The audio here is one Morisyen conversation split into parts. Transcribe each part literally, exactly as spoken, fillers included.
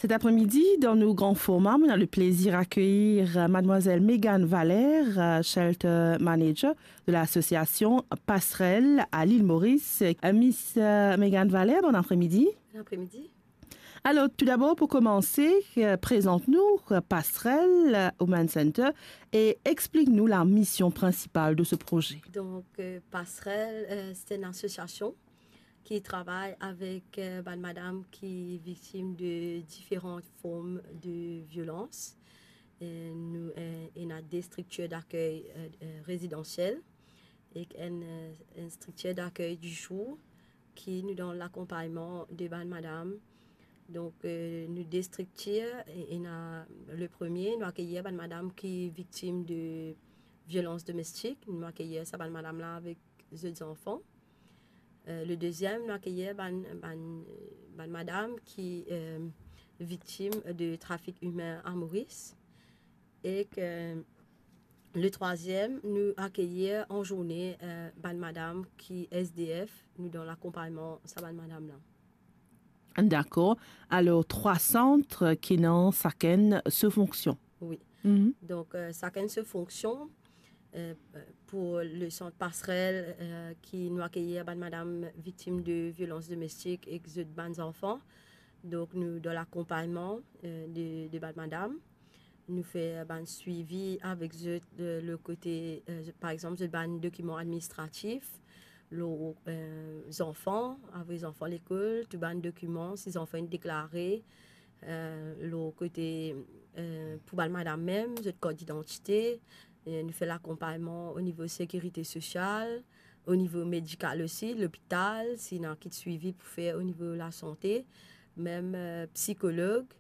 Cet après-midi, dans nos grands formats, on a le plaisir d'accueillir, euh, mademoiselle Mégane Valère, euh, Shelter Manager de l'association Passerelle à l'île Maurice. Euh, Miss, euh, Mégane Valère, bon après-midi. Bon après-midi. Alors, tout d'abord, pour commencer, euh, présente-nous, euh, Passerelle, euh, Women Center et explique-nous la mission principale de ce projet. Donc, euh, Passerelle, euh, c'est une association ki travay avek, euh, bann madam ki viktim de diferan form de violans. Euh, nou, euh, ena de striktir dakey, euh, euh, rezidansiel ek enn, euh, enn striktir dakey di zour ki nou dan lakonpagnman de bann madam. Donk, euh, nou de striktir, e-, ena le premie, nou akeyir bann madam ki viktim de violans domestik. Nou akeyir sa bann madam la avek zot zanfan. Euh, le deziem, nou akeyir bann, bann, bann madam ki, euh, viktim de trafik imin a Moris. Ek, euh, le trwaziem, nou akeyir an zourne, euh, bann madam ki S D F, nou dan lakonpagnman sa bann madam la. Dakor. Alor, trwa sant ki ena sakenn so fonksion. Wi. Mhm. Donk, euh, sakenn so fonksion, euh, pou le sant Passerelle, euh, ki nou akeyir bann madam viktim de violans domestik ek zot bann zanfan. Donk, nou dan lakonpagnman, euh, de, de bann madam. Nou fer bann swivi avek zot, euh, le kote, euh, par exanp, zot bann dokiman administratif, lor, euh, zanfan, avoy zanfan lekol, tou bann dokiman, si zanfan inn deklare, euh, lor kote, euh, pou bann madam mem, zot kart didantite, euh, nou fer lakonpagnman o nivo sekirite sosial, o nivo medikal osi, lopital, si ena kit swivi pou fer o nivo lasante, mem, euh, psikolog,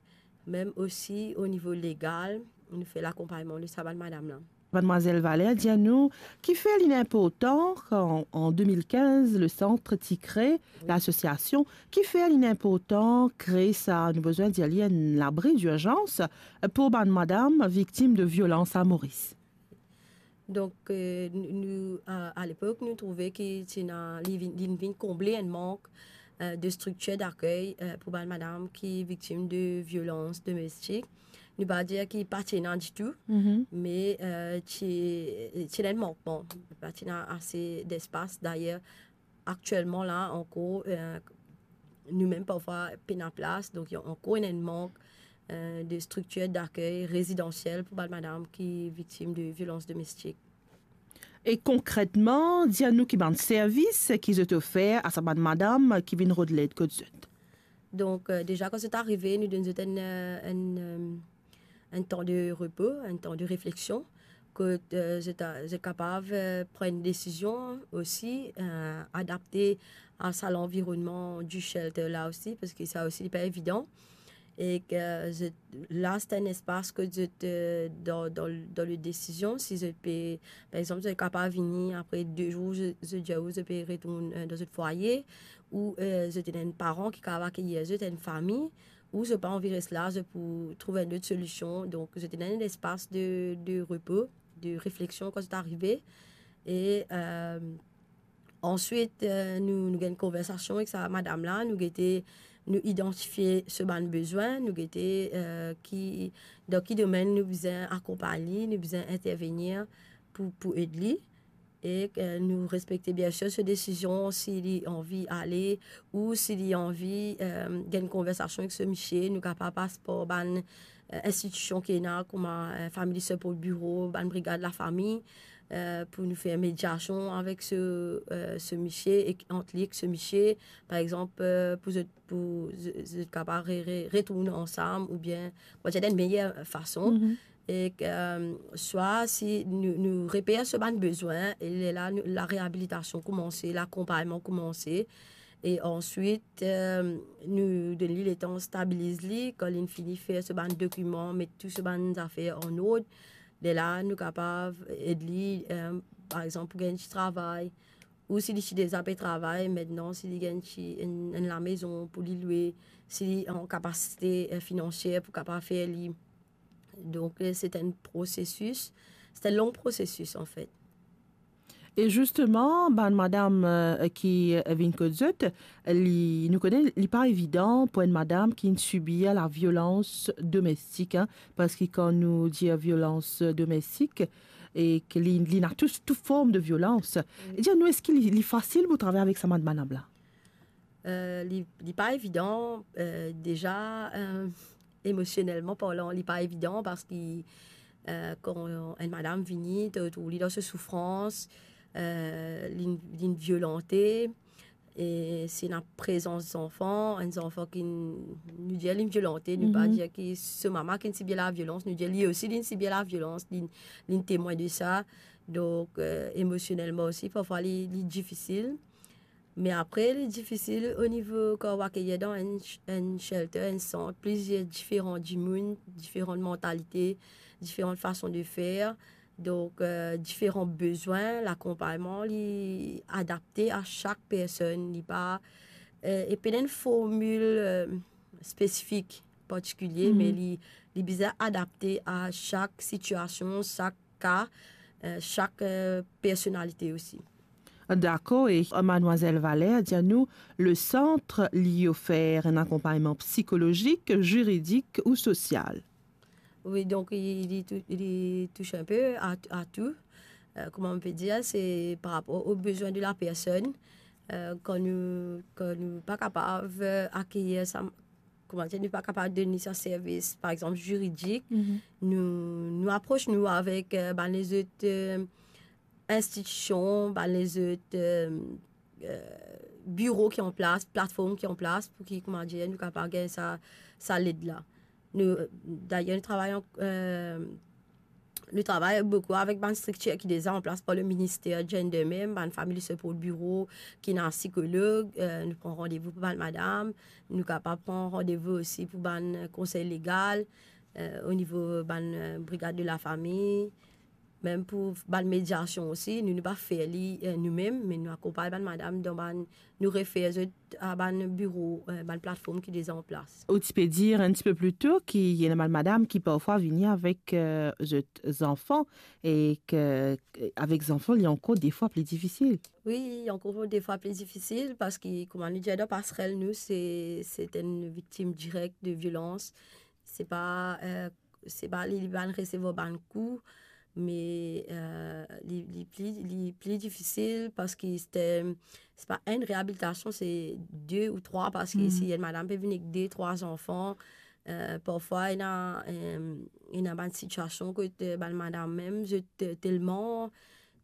mem osi o nivo legal, nou fer lakonpagnman de sa bann madam la. Mademoiselle Valère, dir nou, kifer li inportan kan, an de mil kinz, le sant ti kre, lasosiasion, kifer li inportan kre sa, nou bizin dir li enn labri dirzans pou bann madam viktim de violans a Moris? Donk, euh, nou, nou, a, a lepok, nou trouve ki ti ena, li vinn, li vinn konble enn mank, euh, de striktir dakey, euh, pou bann madam ki viktim de violans domestik. Nou pa dir ki pa ti ena ditou, mhm, me, euh, ti, ti ena enn mankman. Pa ti ena ase despas. Dayer, aktielman la ankor, euh, nou mem parfwa pena plas, donk ena ankor enn mank, euh, de striktir dakey rezidansiel pou bann madam ki viktim de violans domestik. E konkretman, dir nou ki bann servis ki zot ofer a sa bann madam ki vinn rod led kot zot. Donk, euh, deza, kan zot arive, nou donn zot enn, euh, enn, euh, enn tan de repo, enn tan de refleksion, kot, euh, zot a, zot kapav, euh, pran enn desizion osi, euh, adapte a sa lanvironnman di shelter la osi, parski sa osi, li pa evidan. Ek, euh, zot, la, se enn espas kot zot, euh, dan, dan, dan le desizion, si zot pe, par exanp, zot kapav vini apre de zour, zot, zot dir ou zot pe retourn, euh, dan zot fwaye, ou, euh, zot ena enn paran ki kapav akeyir zot, enn fami, ou zot pa anvi res la, zot pou trouv enn lot solision. Donk, zot ena enn espas de, de repo, de refleksion kan zot arive. E, euh, answit, euh, nou, nou gagn konversasion ek sa madam la, nou gete, nou idantifie so bann bezwin, nou gete, euh, ki, dan ki domenn nou bizin akonpagn li, nou bizin intervenir pou, pou ed li. E, euh, nou respekte, biensir, so desizion, si li anvi ale ou si li anvi, euh, gagn konversasion ek so misie, nou kapav pas par bann, euh, institision ki ena, kouma, euh, Family Support Bureau, bann brigad lafami, euh, pou nou fer mediasion avek so, euh, so misie ek ant li ek so misie, par exanp, euh, pou zot, pou zot, zot kapav re-, re-, retourn ansam oubien, kouma dir, dan enn meyer fason. Mhm. Ek, euh, swa si nou, nou reper so bann bezwin, e lerla nou, lareabilitasion koumanse, lakonpagnman koumanse, e answit, euh, nou donn li letan stabiliz li, kan linn fini fer so bann dokiman, met tou so bann zafer an ord, lerla nou kapav ed li, euh, par exanp, pou gagn ti travay, ou si li ti deza pe travay, aster si li gagn ti enn, enn lamezon pou li lwe, si li an kapasite, euh, finansier pou kapav fer li. Donk, euh, se enn prosesis, se enn long prosesis, anfet. E zisteman, bann madam, eh, ki, eh, vinn kot zot, li, nou kone li pa evidan pou enn madam ki finn sibir laviolans domestik, hein, parski kan nou dir violans domestik, e ke li, li ena tou, tou form de violans. Wi. E dir nou, eski li, li fasil pou travay avek sa bann madam la? Eh, li, li pa evidan, eh, deza, eh, emosionelman parlan, li pa evidan parski, eh, kan enn madam vini, to trouv li dan so soufrans, eh, li, li violante, e si ena prezans zanfan, enn zanfan ki, nou dir li violante, nou pa dir ki so mama ki sibir laviolans, nou dir li osi li sibir laviolans, li, li temwin de sa. Donk, eh, emosionelman osi, parfwa li, li difisil. Me apre, li difisil o nivo kan ou akeyir dan enn sh-, enn shelter, enn sant, plizier diferan dimoun, diferan mantalite, diferan fason de fer, donk, eh, diferan bezwin, lakonpagnman, li adapte a sak personn, li pa, eh, e pena enn formil, eh, spesifik, partikilie, me li, li bizin adapte a sak sitiasion, sak ka, eh, sak, eh, personalite osi. Dakor, e Madmwazel Valère, dir nou, le sant li ofer enn akonpagnman psikolozik, ziridik ou sosial? Wi, donk li, li tou-, li touche enn pe a, a tou. Eh, kouma mo pe dir, se par rapor o bezwin de la personn. Eh, kan nou, kan nou pa kapav, eh, akeyir sa, kouma dir, nou pa kapav donn li sa servis, par exanp, ziridik, nou, nou apros nou avek, eh, bann lezot, eh, institision, bann lezot, eh, eh, biro ki an plas, platform ki an plas, pou ki, kouma dir, nou kapav gagn sa, sa led la. Nou, dayer, nou travay an, eh, nou travay boukou avek bann striktir ki deza an plas par le minister gender mem, bann Family Support Bureau, ki ena sikolog, eh, nou pran randevou pou bann madam, nou kapav pran randevou osi pou bann konsey legal, eh, o nivo bann, eh, brigad de la fami, mem pou bann mediasion osi, nou, nou pa fer li, eh, noumem, me nou akonpagn bann madam dan bann, nou refer zot a bann biro, eh, bann platform ki deza an plas. Ou ti pe dir enn tipe pli to ki ena bann madam ki parfwa vini avek, eh, zot zanfan e ke, avek zanfan, li ankor defwa pli difisil. Wi, ankor defwa pli difisil, parski, kouma nou dir, dan Passerelle nou, se, se enn viktim direk de violans. Se pa, eh, se pa li, li bann resevwar bann kou, me, eh, li, li pli, li pli difisil parski se, se pa enn reabilitasion, se de ou trwa, parski si enn madam pe vinn ek de, trwa zanfan, eh, parfwa ena, eh, ena bann sitiasion kot, eh, bann madam mem, zot, eh, telman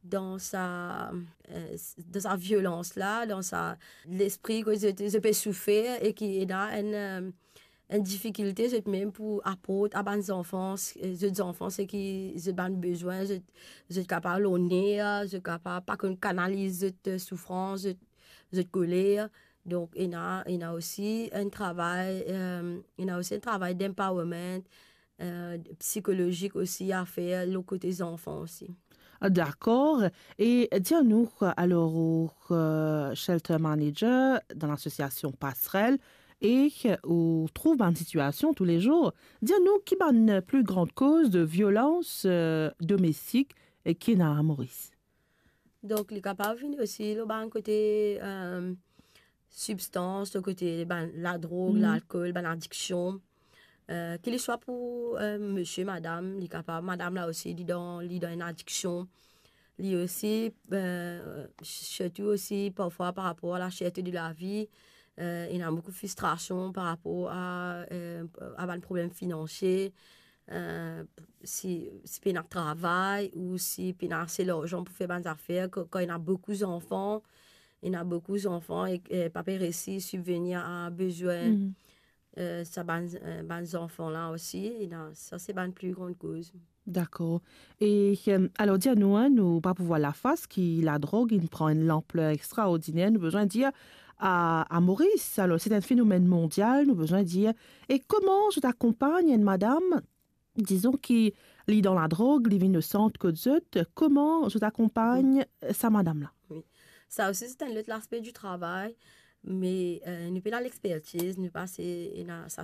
dan sa, eh, s-, dan sa violans la, dan sa lespri kot zot, zot pe soufer e ki ena enn, eh, enn difikilte zot mem pou aport a bann zanfan, s-, zot zanfan seki zot bann bezwin, zot, zot kapav lor ner, zot kapav pa konn kanaliz zot, eh, soufrans, zot, zot koler. Donk, ena, ena osi enn travay, eh, ena osi enn travay d'empowerment, eh, psikolozik osi a fer lor kote zanfan osi. Dakor. E dir nou, alor, ou, eh, shelter manager dan lasosiasion Passerelle e ou trouv bann sitiasion toulezour. Dir nou ki bann pli gran koz de violans, eh, domestik, eh, ki ena a Moris? Donk, li kapav vini osi lor bann kote, eh, sibstans, lor kote bann ladrog, lalkol, bann adiksion. Eh, ki li swa pou, eh, misie, madam, li kapav, madam la osi, li dan, li dan enn adiksion. Li osi, eh, sirtou osi, parfwa par rapor a la cherte de lavi, eh, ena boukou fristrasion par rapor a, eh, a bann problem finansie. Eh, si, si pena travay ou si pena ase larzan pou fer bann zafer, kan, kan ena boukou zanfan, ena boukou zanfan e, eh, pa pe resi sibvenir a bezwin, eh, sa bann, eh, bann zanfan la osi, ena, sa se bann pli gran koz. Dakor. E, eh, alor, dir nou, hein, nou pa pou vwar lafas ki ladrog inn pran enn lanpler extraordiner, nou bizin dir, a, a Moris. Alor, se enn fenomenn mondial, nou bizin dir. E kouma zot akonpagn enn madam, dizon ki li dan ladrog, li vinn o sant kot zot, kouma zot akonpagn, eh, sa madam la? Wi. Sa osi, se enn lot laspe di travay, me, eh, nou pena lexpertiz, nou pa se, ena sa